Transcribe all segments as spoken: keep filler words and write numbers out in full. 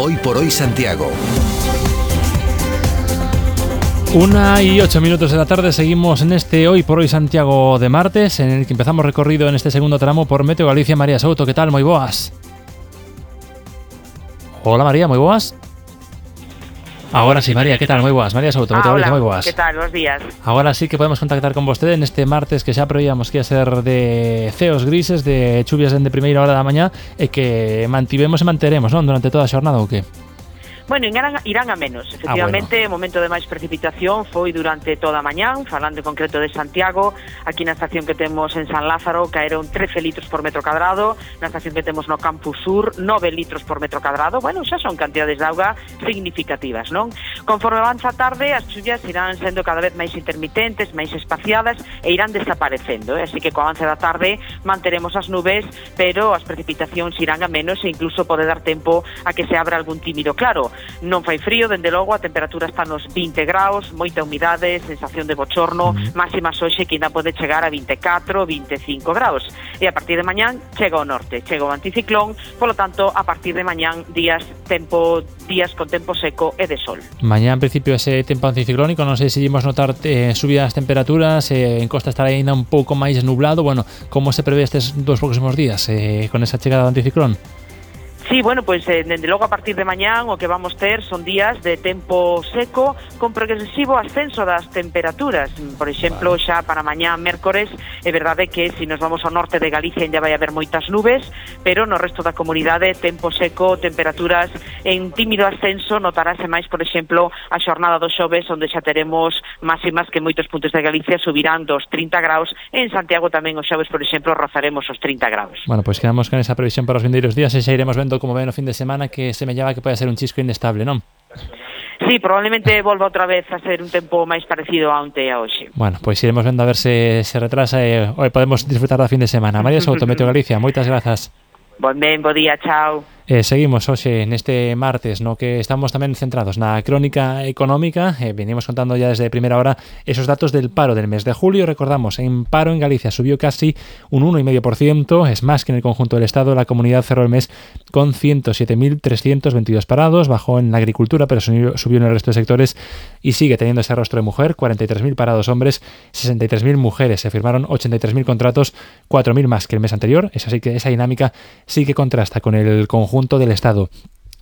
Hoy por Hoy Santiago. Una y ocho minutos de la tarde, seguimos en este Hoy por Hoy Santiago de martes, en el que empezamos recorrido en este segundo tramo por Meteo Galicia. María Souto, ¿qué tal? Moi boas. Hola María, moi boas. Ahora sí, María, ¿qué tal? Moi boas. María Souto, Meteo ah, Galicia, moi boas. ¿Qué tal? Buenos días. Ahora sí que podemos contactar con vostede en este martes que xa prevíamos que ia ser de ceos grises, de chuvias dende primeira hora da mañá e que mantivemos e manteremos, non? Durante toda a xornada ou que? Bueno, irán, irán a menos. Efectivamente, ah, bueno. O momento de máis precipitación foi durante toda a mañán, falando en concreto de Santiago. Aquí na estación que temos en San Lázaro caeron trece litros por metro cadrado, na estación que temos no Campus Sur nove litros por metro cadrado. Bueno, xa son cantidades de auga significativas, non? Conforme avanza a tarde, as chuvas irán sendo cada vez máis intermitentes, máis espaciadas e irán desaparecendo, eh? Así que co avance da tarde manteremos as nubes, pero as precipitacións irán a menos e incluso pode dar tempo a que se abra algún tímido claro. Non fai frío, dende logo, a temperatura está nos vinte graus, moita humidade, sensación de bochorno, uh-huh. máximas hoxe que ainda pode chegar a vinte e catro, vinte e cinco graus. E a partir de mañán chega ao norte, chega o anticiclón, polo tanto, a partir de mañán días tempo días con tempo seco e de sol. Mañá, en principio, ese tempo anticiclónico, non sei se imos notar eh, subidas as temperaturas, eh, en costa estará ainda un pouco máis nublado. Bueno, como se prevé estes dos próximos días eh, con esa chegada do anticiclón? Sí, bueno, pois pues, eh, dende logo a partir de mañán o que vamos ter son días de tempo seco con progresivo ascenso das temperaturas. Por exemplo, vale. Xa para mañán mércores é verdade que se nos vamos ao norte de Galicia ainda vai haber moitas nubes, pero no resto da comunidade tempo seco, temperaturas en tímido ascenso. Notarase máis, por exemplo, a xornada dos xoves onde xa teremos máximas que en moitos puntos de Galicia subirán dos trinta graus. En Santiago tamén os xoves, por exemplo, rozaremos os trinta graus. Bueno, pois pues quedamos con esa previsión para os vindeiros días e xa iremos vendo como ven o fin de semana, que se me llama que pode ser un chisco inestable, non? Sí, probablemente volva outra vez a ser un tempo máis parecido a onte e a hoxe. Bueno, pois pues iremos vendo a ver se se retrasa e hoy podemos disfrutar da fin de semana. María Souto, Meteo Galicia, moitas grazas. Bon ben, bo día, chao. Eh, seguimos hoxe neste martes, no que estamos tamén centrados na crónica económica. Eh, venimos contando ya desde primera hora esos datos del paro del mes de julio. Recordamos, en paro en Galicia subió casi un uno coma cinco por ciento, es más que en el conjunto del Estado. La comunidad cerró el mes con ciento siete mil trescientos veintidós parados, bajó en la agricultura, pero subió, subió en el resto de sectores y sigue teniendo ese rostro de mujer. cuarenta y tres mil parados hombres, sesenta y tres mil mujeres. Se firmaron ochenta y tres mil contratos, cuatro mil más que el mes anterior. Es así que esa dinámica sí que contrasta con el conjunto del Estado.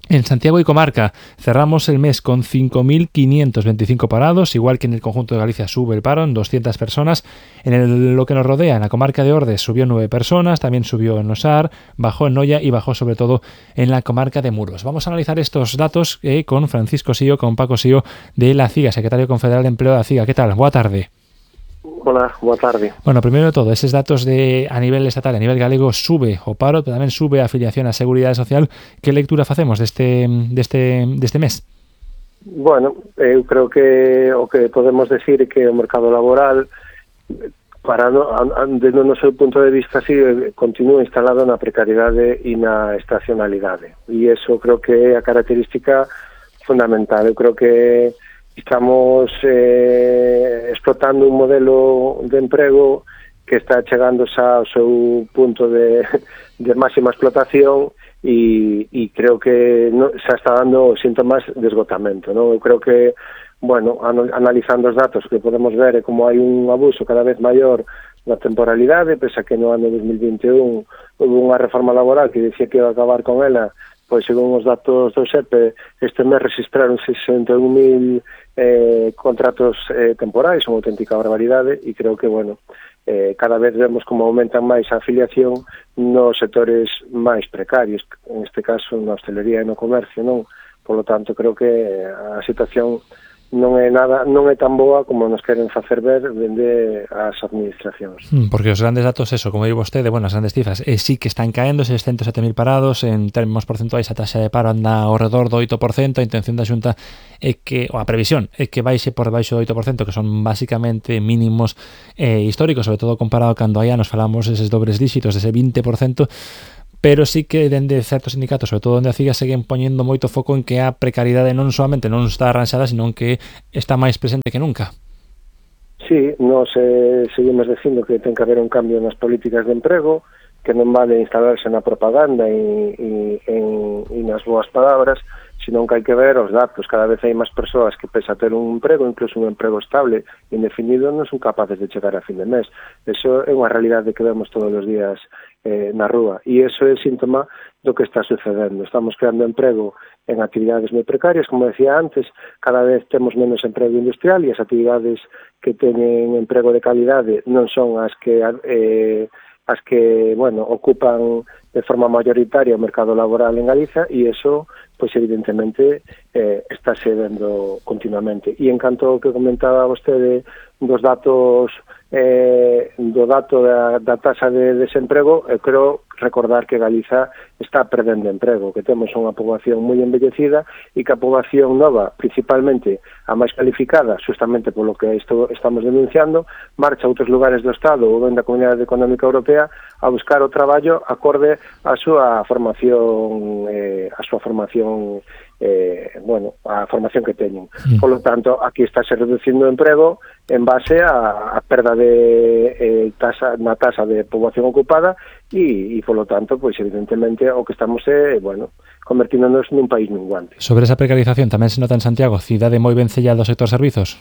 En Santiago y comarca cerramos el mes con cinco mil quinientos veinticinco parados, igual que en el conjunto de Galicia sube el paro en doscientas personas. En el, lo que nos rodea, en la comarca de Ordes subió nueve personas, también subió en Osar, bajó en Noia y bajó sobre todo en la comarca de Muros. Vamos a analizar estos datos eh, con Francisco Sío, con Paco Sío de la CIGA, secretario confederal de Empleo de la CIGA. ¿Qué tal? Boa tarde. Hola, boa tarde. Bueno, primero de todo, esos datos de a nivel estatal, a nivel galego, sube o paro, pero tamén sube a afiliación á Seguridade Social. Que lectura facemos deste, deste, deste mes? Bueno, eu creo que o que podemos decir é que o mercado laboral, para no, desde o noso punto de vista, sí, continúa instalado na precariedade e na estacionalidade. E iso creo que é a característica fundamental. Eu creo que estamos eh, explotando un modelo de emprego que está chegando xa ao seu punto de, de máxima explotación e, e creo que no, xa está dando síntomas de esgotamento, non? Eu creo que, bueno, analizando os datos que podemos ver é como hai un abuso cada vez maior na temporalidade, pese a que no ano dos mil vinte e un houve unha reforma laboral que dicía que iba a acabar con ela, pois según os datos do S E P este mes registraron sesenta e un mil eh, contratos eh, temporais, unha auténtica barbaridade, e creo que, bueno, eh, cada vez vemos como aumentan máis a afiliación nos sectores máis precarios, en este caso na hostelería e no comercio, non? Por lo tanto, creo que a situación non é nada, non é tan boa como nos queren facer ver dende as administracións. Porque os grandes datos, eso, como digo vostede, bueno, as grandes cifras, eh, sí que están caendo, seiscentos sete mil parados, en términos porcentuais a taxa de paro anda ao redor do oito por cento, a intención da Xunta é que, ou a previsión, é que baixe por debaixo do oito por cento, que son basicamente mínimos eh, históricos, sobre todo comparado cando hai anos falamos eses dobres díxitos, ese vinte por cento, pero sí que dende certos sindicatos, sobre todo onde a CIGA, seguen poñendo moito foco en que a precariedade non solamente non está arranxada, sino que está máis presente que nunca. Sí, nos eh, seguimos dicindo que ten que haber un cambio nas políticas de emprego, que non vale instalarse na propaganda e, e, e, e nas boas palabras, senón que hai que ver os datos. Cada vez hai máis persoas que, pese a ter un emprego, incluso un emprego estable, indefinido, non son capaces de chegar a fin de mes. Eso é unha realidade que vemos todos os días eh, na rúa, e iso é síntoma do que está sucedendo. Estamos creando emprego en actividades moi precarias, como decía antes, cada vez temos menos emprego industrial, e as actividades que teñen emprego de calidade non son as que eh, as que, bueno, ocupan de forma mayoritaria o mercado laboral en Galiza, e iso, pois evidentemente, eh, está se vendo continuamente. E en canto ao que comentaba vostede dos datos, eh, do dato da, da taxa de desemprego, eu creo recordar que Galiza está perdendo emprego, que temos unha poboación moi envellecida e que a poboación nova, principalmente a máis calificada, justamente polo que isto estamos denunciando, marcha a outros lugares do Estado ou ben da Comunidade Económica Europea a buscar o traballo acorde á súa formación, eh, a súa formación eh, bueno, a formación que teñen. Mm. Por lo tanto, aquí está se reducindo o emprego en base a, a perda de eh, tasa, na tasa de poboación ocupada e, e polo tanto, pois evidentemente o que estamos é, bueno, convertíndonos nun país minguante. Sobre esa precarización tamén se nota en Santiago, cidade moi vencellada ao sector servizos?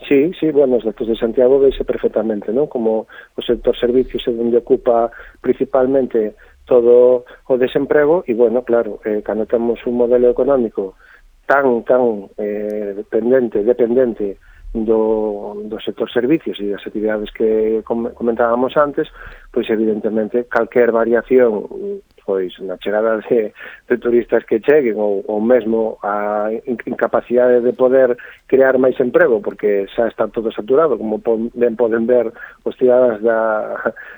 Sí, sí, bueno, os datos de Santiago veise perfectamente, ¿no? Como o sector servicios é onde ocupa principalmente todo o desemprego, e, bueno, claro, eh, cando temos un modelo económico tan, tan eh, dependente, dependente do, do sector servicios e das actividades que comentábamos antes, pois evidentemente calquer variación pois na chegada de, de turistas que cheguen ou, ou mesmo a incapacidade de poder crear máis emprego porque xa está todo saturado, como ben poden ver os cidadanos da,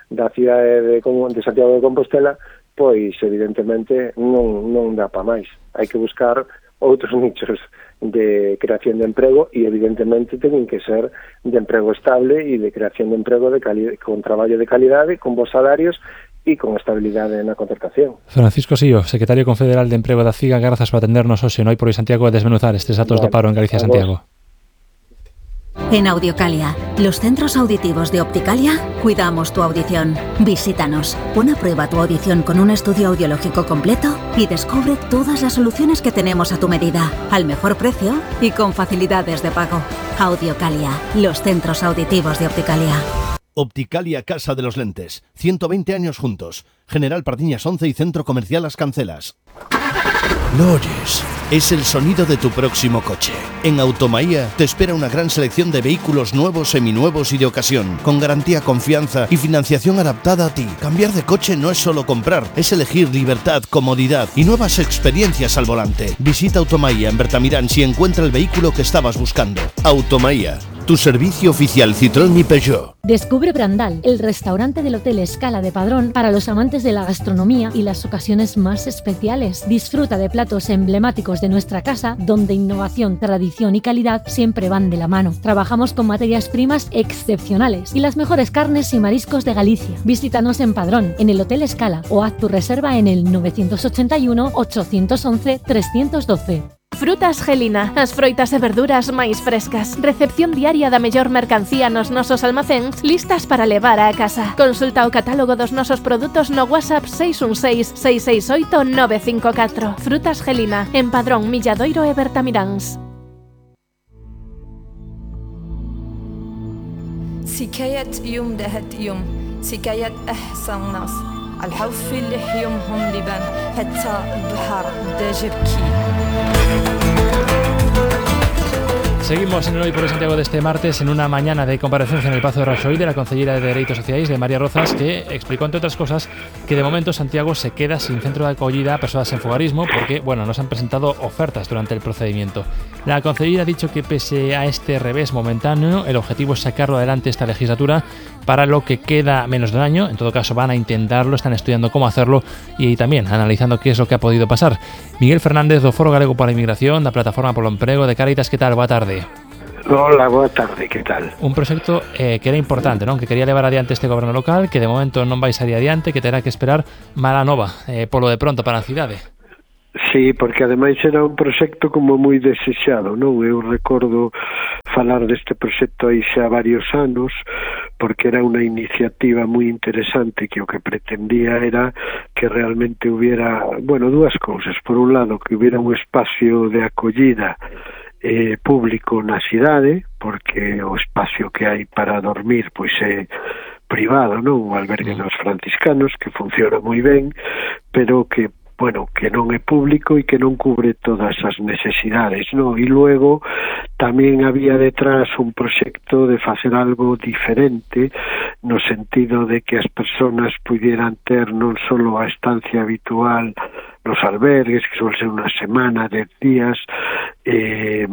da cidade de, de Santiago de Compostela, pois evidentemente non, non dá pa máis. Hai que buscar outros nichos de creación de emprego e evidentemente teñen que ser de emprego estable e de creación de emprego de cali- con traballo de calidade, con bons salarios e con estabilidade na contratación. Francisco Sío, secretario confederal de Emprego da CIGA, grazas por atendernos hoxe no Hai por Hoy Santiago a desmenuzar estes datos Vale, do paro en Galicia e Santiago. En Audiocalia, los centros auditivos de Opticalia, cuidamos tu audición. Visítanos, pon a prueba tu audición con un estudio audiológico completo y descubre todas las soluciones que tenemos a tu medida, al mejor precio y con facilidades de pago. Audiocalia, los centros auditivos de Opticalia. Opticalia Casa de los Lentes, ciento veinte años juntos. General Pardiñas once y Centro Comercial Las Cancelas. ¿Lo oyes? Es el sonido de tu próximo coche. En Automaía te espera una gran selección de vehículos nuevos, seminuevos y de ocasión, con garantía, confianza y financiación adaptada a ti. Cambiar de coche no es solo comprar, es elegir libertad, comodidad y nuevas experiencias al volante. Visita Automaía en Bertamirán si encuentra el vehículo que estabas buscando. Automaía, tu servicio oficial Citroën y Peugeot. Descubre Brandal, el restaurante del Hotel Escala de Padrón para los amantes de la gastronomía y las ocasiones más especiales. Disfruta de platos emblemáticos de nuestra casa, donde innovación, tradición y calidad siempre van de la mano. Trabajamos con materias primas excepcionales y las mejores carnes y mariscos de Galicia. Visítanos en Padrón, en el Hotel Escala, o haz tu reserva en el nueve ochenta y uno, ochocientos once, trescientos doce. Frutas Gelina, as froitas e verduras máis frescas. Recepción diaria da mellor mercancía nos nosos almacéns, listas para levar á casa. Consulta o catálogo dos nosos produtos no WhatsApp seis un seis, seis seis oito, nove cinco catro. Frutas Gelina, en Padrón, Milladoiro e Bertamiráns. سكاية يوم دهت يوم سكاية أحسن ناس الحوف اللي يومهم لبان حتى البحر بدا جبكي. Seguimos en el Hoy por Hoy Santiago de este martes en una mañana de comparecencia en el Pazo de Raxoi de la Concellera de Dereitos Sociais de María Rozas, que explicó entre otras cosas que de momento Santiago se queda sin centro de acogida a personas en fogarismo porque, bueno, no se han presentado ofertas durante el procedimiento. La Concellera ha dicho que pese a este revés momentáneo, el objetivo es sacarlo adelante esta legislatura para lo que queda menos de un año. En todo caso van a intentarlo, están estudiando cómo hacerlo y también analizando qué es lo que ha podido pasar. Miguel Fernández do Foro Galego para a Inmigración, da Plataforma polo Emprego de Cáritas, que tal? Boa tarde. Hola, boa tarde, que tal? Un proxecto eh, que era importante, non? Que quería levar adiante este goberno local, que de momento non vai sair adiante, que terá que esperar mala nova, eh, polo de pronto para a cidade. Sí, porque ademais era un proxecto como moi desexado, non? Eu recordo falar deste proxecto aí xa varios anos, porque era unha iniciativa moi interesante que o que pretendía era que realmente hubiera, bueno, dúas cousas. Por un lado, que hubiera un espacio de acollida eh, público na cidade, porque o espacio que hai para dormir pois é privado, non? O albergue dos franciscanos, que funciona moi ben, pero que, bueno, que non é público e que non cubre todas as necesidades, non? E luego tamén había detrás un proxecto de facer algo diferente, no sentido de que as persoas pudieran ter non só a estancia habitual nos albergues, que suele ser unha semana, dez días, eh,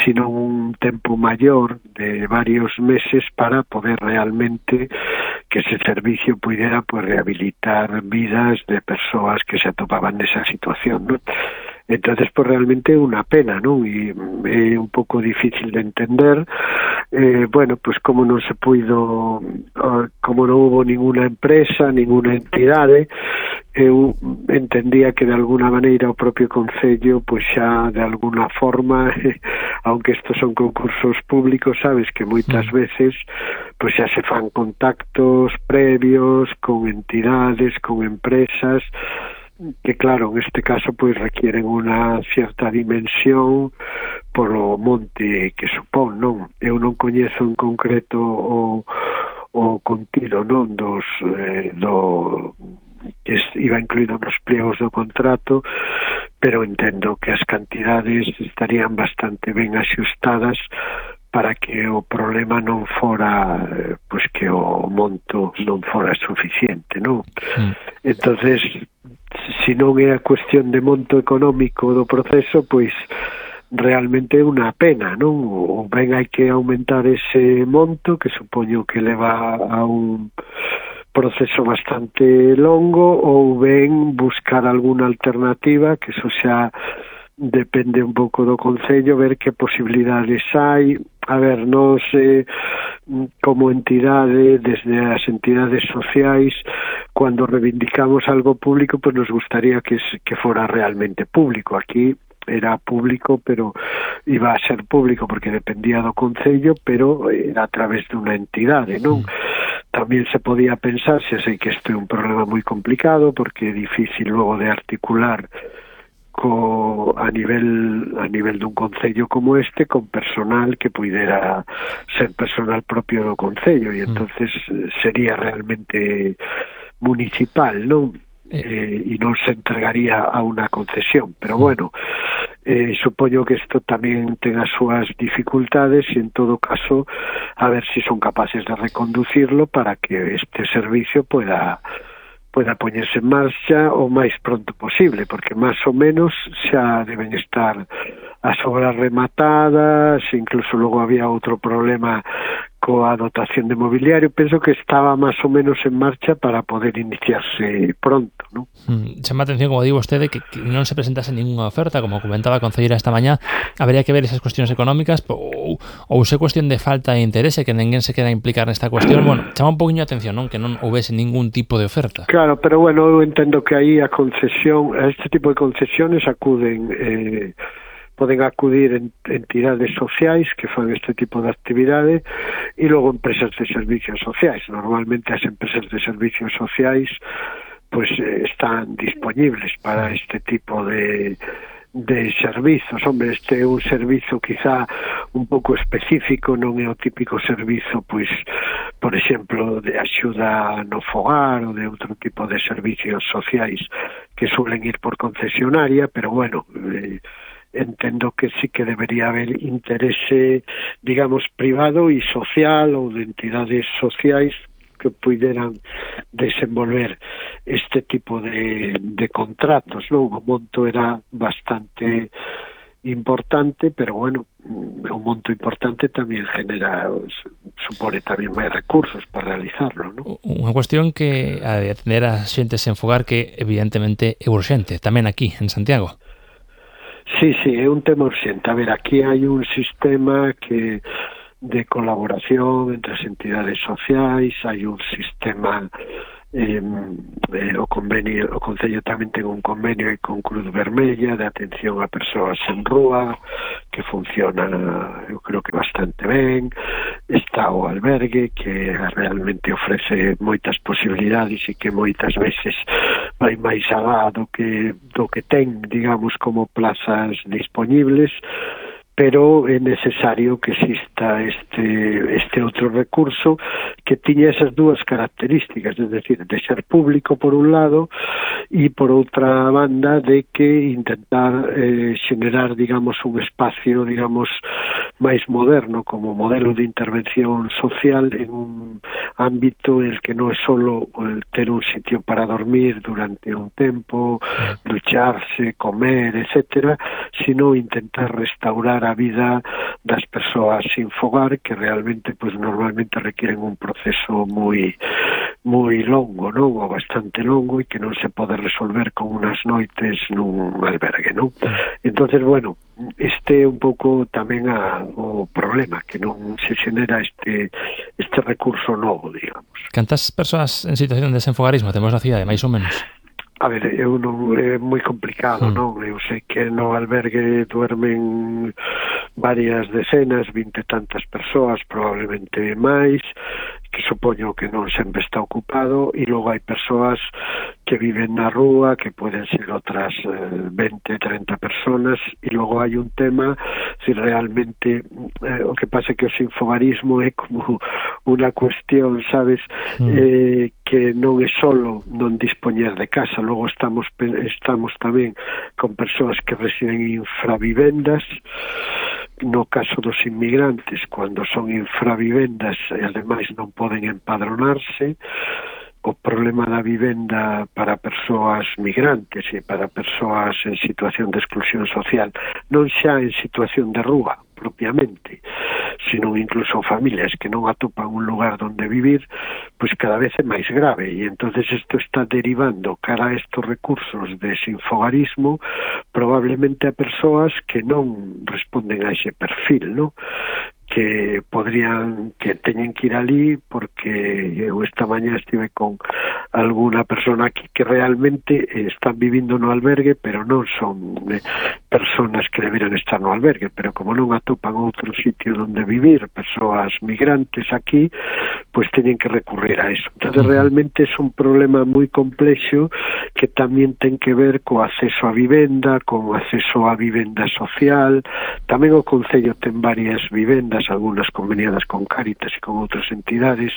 sino un tempo maior de varios meses para poder realmente que ese servicio pudiera pues, rehabilitar vidas de persoas que se atopaban nesa situación, ¿no? Entonces, pues realmente é unha pena, ¿no? E é un pouco difícil de entender. Eh, bueno, pues como non se puido, como non hubo ninguna empresa, ninguna entidade, eu entendía que de alguna maneira o propio Concello, pues xa de alguna forma, aunque estos son concursos públicos, sabes que moitas veces pues xa se fan contactos previos con entidades, con empresas, que claro, en este caso pues requieren unha cierta dimensión polo monte que supón, non? Eu non coñezo en concreto o, o contido, non, dos eh, do que iba incluído nos pliegos do contrato, pero entendo que as cantidades estarían bastante ben axustadas para que o problema non fora, pois que o monto non fora suficiente, non? Sí. Entonces, se non é a cuestión de monto económico do proceso, pois realmente é unha pena, non? Ou ben hai que aumentar ese monto, que supoño que leva a un proceso bastante longo, ou ben buscar alguna alternativa, que eso xa depende un pouco do Concello, ver que posibilidades hai. A ver, nos eh, como entidade, desde as entidades sociais, cuando reivindicamos algo público, pues nos gustaría que, que fora realmente público. Aquí era público, pero iba a ser público porque dependía do Concello, pero era a través de unha entidade, non? Tamén se podía pensar, se sei que isto é un problema moi complicado, porque é difícil logo de articular co, a nivel a nivel dun concello como este, con personal que puidera ser personal propio do concello, e entonces sería realmente municipal, non? Eh, e non se entregaría a unha concesión, pero bueno, eh, supoño que isto tamén ten as súas dificultades, e en todo caso a ver se si son capaces de reconducirlo para que este servicio pueda pueda poñerse en marcha o máis pronto posible, porque máis ou menos xa deben estar as obras rematadas, incluso logo había outro problema coa dotación de mobiliario. Penso que estaba máis ou menos en marcha para poder iniciarse pronto, non? Mm, chama a atención, como digo vostede, que, que non se presentase ninguna oferta, como comentaba a concelleira esta mañá. Habería que ver esas cuestións económicas ou, ou se cuestión de falta de interese, que ninguén se queda a implicar nesta cuestión. Bueno, chama un poquinho a atención, non? Que non houvese ningún tipo de oferta. Claro, pero bueno, eu entendo que aí a concesión, a este tipo de concesiones acuden eh, poden acudir en entidades sociais que fan este tipo de actividade e logo empresas de servicios sociais. Normalmente as empresas de servicios sociais pues eh, están disponibles para este tipo de de servizos. Hombre, este é un servizo quizá un pouco específico, non é o típico servizo, pois, por exemplo, de axuda no fogar ou de outro tipo de servicios sociais que suelen ir por concesionaria, pero bueno, eh, entendo que sí que debería haber interese, digamos, privado e social ou de entidades sociais que puderan desenvolver este tipo de, de contratos, non? O monto era bastante importante, pero bueno, un monto importante tamén genera, supone tamén máis recursos para realizarlo, non? Unha cuestión que a de atender a xente sen fogar que evidentemente é urxente, tamén aquí, en Santiago. Sí, sí, é un tema urxente. A ver, aquí hai un sistema que de colaboración entre as entidades sociais, hai un sistema eh, eh, o convenio, o Concello tamén ten un convenio con Cruz Vermella de atención a persoas en rúa, que funciona, eu creo que bastante ben. Está o albergue, que realmente ofrece moitas posibilidades e que moitas veces vai máis alá do que, do que ten, digamos, como plazas disponibles, pero é necesario que exista este este outro recurso que tiña esas dúas características, es decir, de ser público por un lado e por outra banda de que intentar eh, generar, digamos, un espacio, digamos, máis moderno como modelo de intervención social en un ámbito en el que non é solo el ter un sitio para dormir durante un tempo, ducharse, comer, etcétera, sino intentar restaurar a vida das persoas sin fogar, que realmente pues normalmente requieren un proceso moi moi longo, non? Ou bastante longo, e que non se pode resolver con unas noites nun albergue, non? Entonces, bueno, este é un pouco tamén a, o problema, que non se xenera este este recurso novo, digamos. Cantas persoas en situación de desenfogarismo temos na cidade, máis ou menos? A ver, eu non, é moi complicado, mm. non? Eu sei que no albergue duermen varias decenas, vinte tantas persoas, probablemente máis, que supoño que non sempre está ocupado, e logo hai persoas que viven na rúa, que poden ser outras eh, veinte, treinta personas, e logo hai un tema, si realmente eh, o que pasa é que o sinfogarismo é como unha cuestión, sabes, mm. eh, que non é solo non dispoñer de casa, logo estamos estamos tamén con persoas que residen en infravivendas. No caso dos inmigrantes, cando son infravivendas e ademais non poden empadronarse, o problema da vivenda para persoas migrantes e para persoas en situación de exclusión social, non xa en situación de rúa propiamente, sino incluso familias que non atopan un lugar donde vivir, pois cada vez é máis grave, e entonces isto está derivando cara a estos recursos de sinfogarismo probablemente a persoas que non responden a ese perfil, ¿no? Que podrían, que teñen que ir ali, porque eu esta mañá estive con alguna persona aquí que realmente están vivindo no albergue, pero non son eh, personas que deberan estar no albergue, pero como non atopan outro sitio donde vivir, persoas migrantes aquí, pues teñen que recurrir a eso. Entonces realmente é un problema moi complexo que tamén ten que ver co acceso a vivenda, con acceso a vivenda social. Tamén o Concello ten varias vivendas, algunas conveniadas con Cáritas e con outras entidades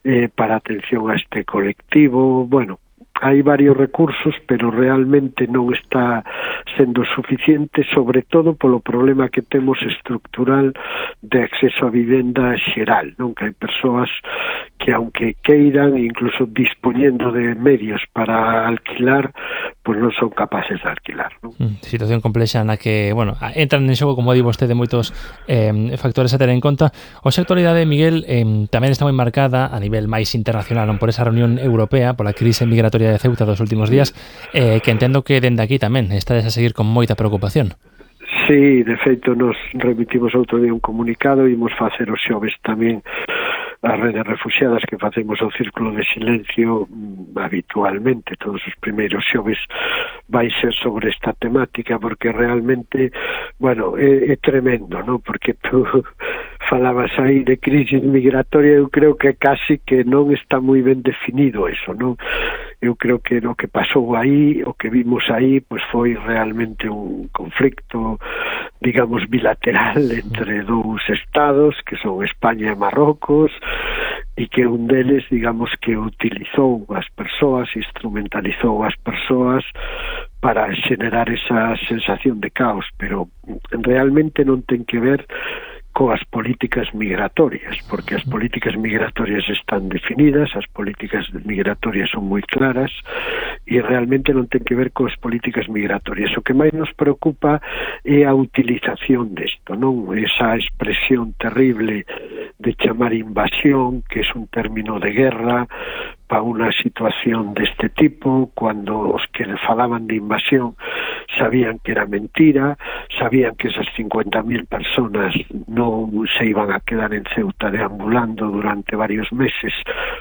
eh, para atención a este colectivo. Bueno, hai varios recursos, pero realmente non está sendo suficiente, sobre todo polo problema que temos estructural de acceso a vivenda xeral, non? Que hai persoas que, aunque queiran, incluso dispoñendo de medios para alquilar, pois non son capaces de alquilar, non? Situación complexa na que, bueno, entran en xogo, como di vostede, moitos eh, factores a ter en conta. O xa actualidade, Miguel, eh, tamén está moi marcada a nivel máis internacional, non? Por esa reunión europea, pola crise migratoria de Ceuta dos últimos días, eh, que entendo que dende aquí tamén estades a seguir con moita preocupación. Sí, de feito nos remitimos outro día un comunicado e imos facer os xoves tamén as redes refugiadas, que facemos o círculo de silencio habitualmente, todos os primeiros xoves vai ser sobre esta temática, porque realmente, bueno, é, é tremendo, ¿no? Porque tú falabas aí de crisis migratoria, eu creo que casi que non está moi ben definido eso, ¿no? Eu creo que o que pasou aí, o que vimos aí, pues foi realmente un conflicto, digamos, bilateral entre dous estados, que son España e Marrocos, e que un deles, digamos, que utilizou as persoas, instrumentalizou as persoas para xenerar esa sensación de caos, pero realmente non ten que ver coas políticas migratorias, porque as políticas migratorias están definidas, as políticas migratorias son moi claras e realmente non ten que ver coas políticas migratorias. O que máis nos preocupa é a utilización desto, non? Esa expresión terrible de chamar invasión, que é un término de guerra, para unha situación deste tipo, cuando os que falaban de invasión sabían que era mentira, sabían que esas cincuenta mil personas no se iban a quedar en Ceuta deambulando durante varios meses,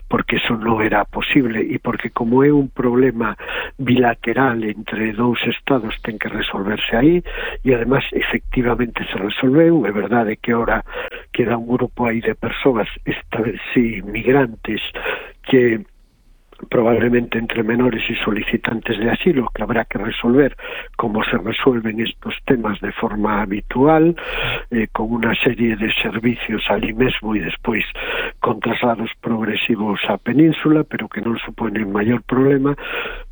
porque eso no era posible e porque como é un problema bilateral entre dous estados ten que resolverse aí, e además efectivamente se resolveu. É verdade que ahora queda un grupo aí de persoas, esta vez sí, migrantes, que probablemente entre menores y solicitantes de asilo, que habrá que resolver como se resuelven estos temas de forma habitual, eh, con una serie de servicios ali mesmo e despois con traslados progresivos á península, pero que non suponen maior problema.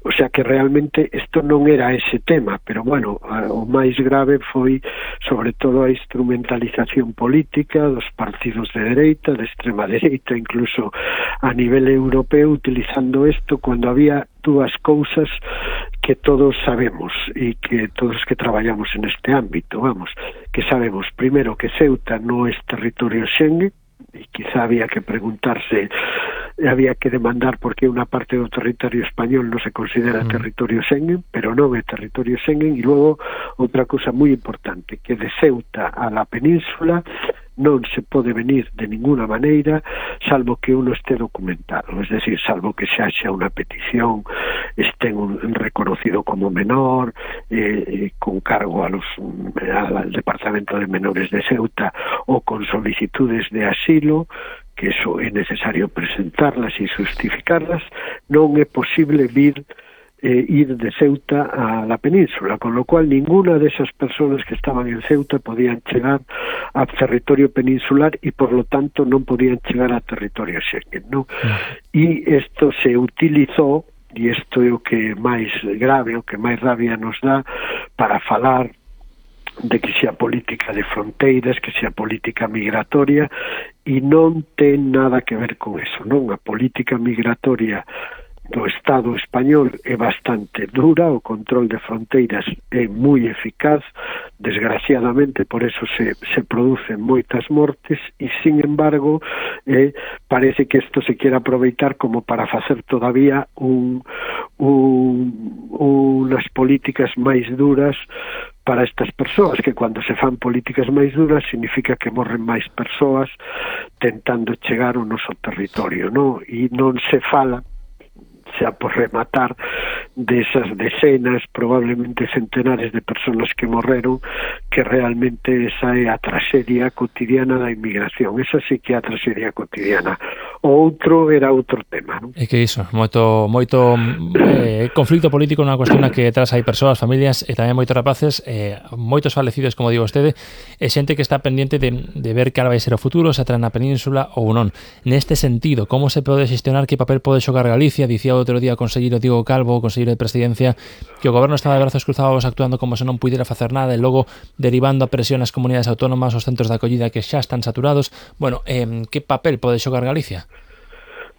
O sea que realmente isto non era ese tema, pero bueno, o máis grave foi sobre todo a instrumentalización política dos partidos de dereita, de extrema dereita, incluso a nivel europeo, utilizando isto cuando había dúas cousas que todos sabemos e que todos que traballamos en este ámbito, vamos, que sabemos primero que Ceuta non é territorio Schengen, e quizá había que preguntarse, había que demandar por que unha parte do territorio español non se considera mm. territorio Schengen, pero non é territorio Schengen. E logo outra cousa moi importante, que de Ceuta a la península non se pode venir de ninguna maneira salvo que uno esté documentado, es decir, salvo que se haxa unha petición, estén un, reconocido como menor, eh, con cargo a los, al Departamento de Menores de Ceuta, o con solicitudes de asilo, que eso é necesario presentarlas e justificarlas, non é posible vir Eh, ir de Ceuta a la península, con lo cual ninguna de esas personas que estaban en Ceuta podían chegar a territorio peninsular y por lo tanto non podían chegar a territorio Schengen, ¿no? E isto se utilizou, e isto é o que máis grave, o que máis rabia nos dá, para falar de que sea política de fronteiras, que sea política migratoria, e non ten nada que ver con eso, non? A política migratoria do Estado español é bastante dura, o control de fronteiras é moi eficaz, desgraciadamente por eso se, se producen moitas mortes, e sin embargo eh, parece que isto se quere aproveitar como para facer todavía un, un, unas políticas máis duras para estas persoas, que cando se fan políticas máis duras significa que morren máis persoas tentando chegar ao noso territorio, non? E non se fala, xa por rematar, desas decenas, probablemente centenares de personas que morreron, que realmente esa é a traxedia cotidiana da inmigración. Esa sí que é a traxedia cotidiana. O outro era outro tema, non? É que iso, moito moito eh, conflicto político nunha cuestión que tras hai persoas, familias e tamén moitos rapaces, eh, moitos falecidos, como digo vostede, e xente que está pendiente de, de ver cal vai ser o futuro, se atrás na península ou non. Neste sentido, como se pode xestionar, que papel pode xogar Galicia? Dicía outro día o conselleiro Diego Calvo, o conselleiro de Presidencia, que o goberno estaba de brazos cruzados actuando como se non puidera facer nada e logo derivando a presión ás comunidades autónomas, aos centros de acollida que xa están saturados. Bueno, eh, que papel pode xogar Galicia?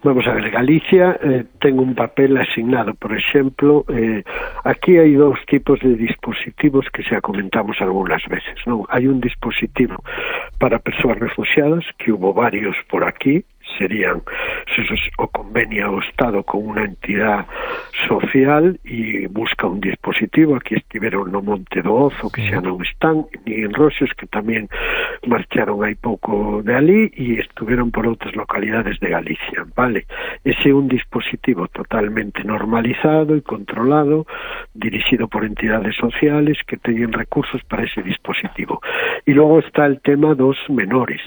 Vamos a ver, Galicia eh, ten un papel asignado, por exemplo, eh, aquí hai dous tipos de dispositivos que xa comentamos algunhas veces, non? Hai un dispositivo para persoas refugiadas, que hubo varios por aquí, serían o convenio o Estado con unha entidade social e busca un dispositivo. Aquí estiveron no Monte do Ozo, que xa non están, ni en Roxos, que tamén marcharon hai pouco de ali, e estuveron por outras localidades de Galicia, vale? Ese é un dispositivo totalmente normalizado e controlado, dirixido por entidades sociales que teñen recursos para ese dispositivo. E logo está el tema dos menores,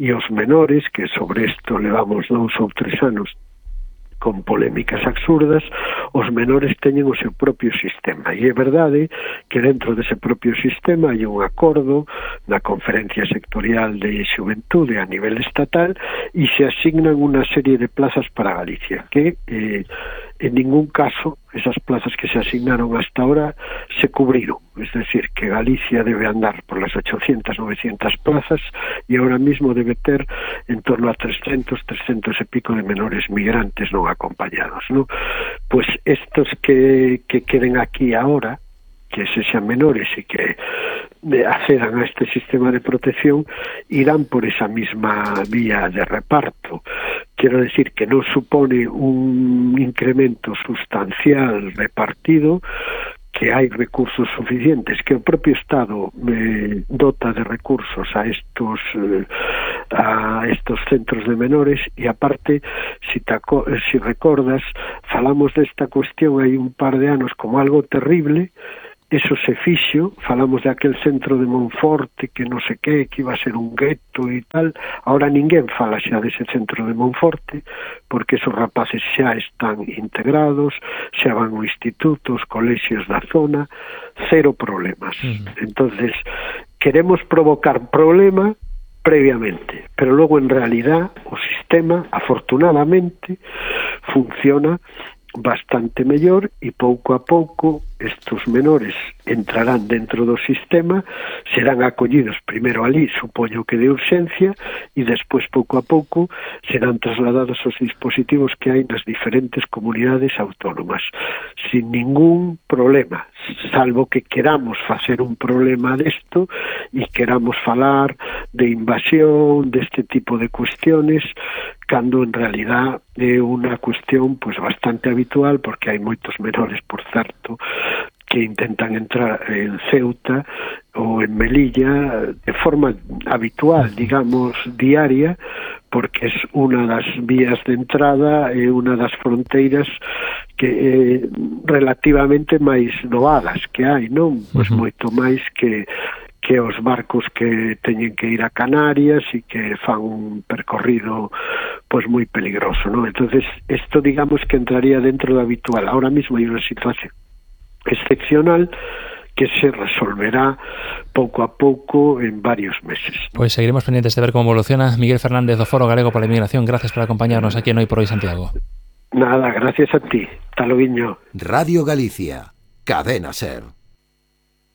e os menores, que sobre isto levamos dous ou tres anos con polémicas absurdas, os menores teñen o seu propio sistema, e é verdade que dentro dese propio sistema hai un acordo na Conferencia Sectorial de Xuventude a nivel estatal e se asignan unha serie de plazas para Galicia, que eh, en ningún caso esas plazas que se asignaron hasta ahora se cubriron, es decir, que Galicia debe andar por las ochocientas, novecientas plazas e ahora mismo debe ter en torno a trescentos, trescentos e pico de menores migrantes non acompañados, ¿no? Pues estos que, que queden aquí ahora, que se sean menores y que accedan a este sistema de protección, irán por esa misma vía de reparto. Quiero decir que no supone un incremento sustancial repartido, que hai recursos suficientes, que o propio Estado eh, dota de recursos a estos eh, a estos centros de menores, e aparte, si, taco, si recordas, falamos desta cuestión hai un par de anos como algo terrible. Eso se fixo, falamos de aquel centro de Monforte que non sei que, que iba a ser un gueto e tal. Ahora ninguén fala xa dese centro de Monforte, porque esos rapaces xa están integrados, xa van ao instituto, os colexios da zona, cero problemas. Uh-huh. Entonces, queremos provocar problema previamente, pero logo en realidad o sistema, afortunadamente, funciona bastante mellor, e pouco a pouco estes menores entrarán dentro do sistema, serán acollidos primeiro ali, supoño que de urxencia, e despois pouco a pouco serán trasladados aos dispositivos que hai nas diferentes comunidades autónomas, sin ningún problema, salvo que queramos facer un problema desto e queramos falar de invasión, deste tipo de cuestiones, cando en realidad é unha cuestión pues bastante habitual, porque hai moitos menores, por certo, que intentan entrar en Ceuta ou en Melilla de forma habitual, digamos, diaria, porque é unha das vías de entrada e unha das fronteiras que eh, relativamente máis doadas que hai, non? Pois moito máis que que os barcos que teñen que ir a Canarias e que fan un percorrido pois moi peligroso, non? Entonces, isto digamos que entraría dentro do habitual. Ahora mismo hai unha situación excepcional que se resolverá pouco a pouco en varios meses. Pois seguiremos pendientes de ver como evoluciona. Miguel Fernández do Foro Galego pola Inmigración, gracias por acompañarnos aquí en Hoy por Hoy Santiago. Nada, gracias a ti. Hasta logo. Radio Galicia, Cadena Ser.